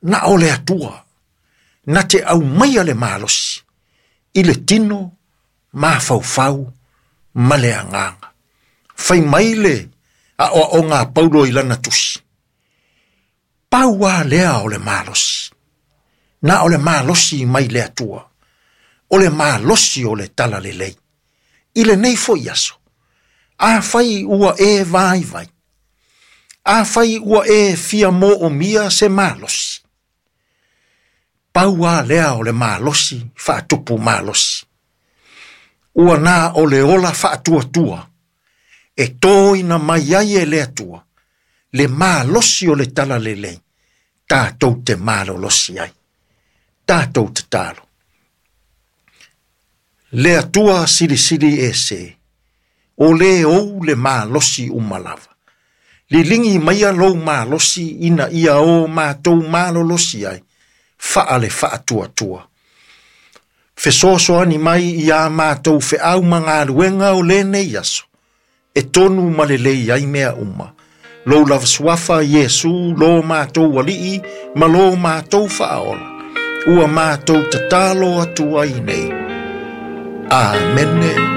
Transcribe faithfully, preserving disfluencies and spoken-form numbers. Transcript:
Na o le Atua, na te aumaia le malosi, i le tino, mafaufau, ma le agaga. Fai mai le aoaoga a Paulo i lana tusi. Pau lava lea o le malosi. Na o le malosi mai le Atua. O le malosi o le talalelei. I lenei foi aso, afai ua e vaivai, afai ua e fia moomia se malosi, pau lava lea o le malosi faatupu malosi. Ua na o le ola faatuatua, e toina mai ai e le Atua, le malosi o le talalelei, tatou te malolosi ai. Tatou tatalo. Le Atua silisili ese, o le ou le malosi uma lava. Liligi maia lou malosi ina ia o matou malolosi ai, faale faatuatua. Fesoasoani mai ia matou feau ma galuega o lenei aso, e tonu ma lelei ai mea uma. Lou lava suafa Iesu, lo matou alii, ma lo matou faaola. Ua matou tatalo atu ai nei. Amene.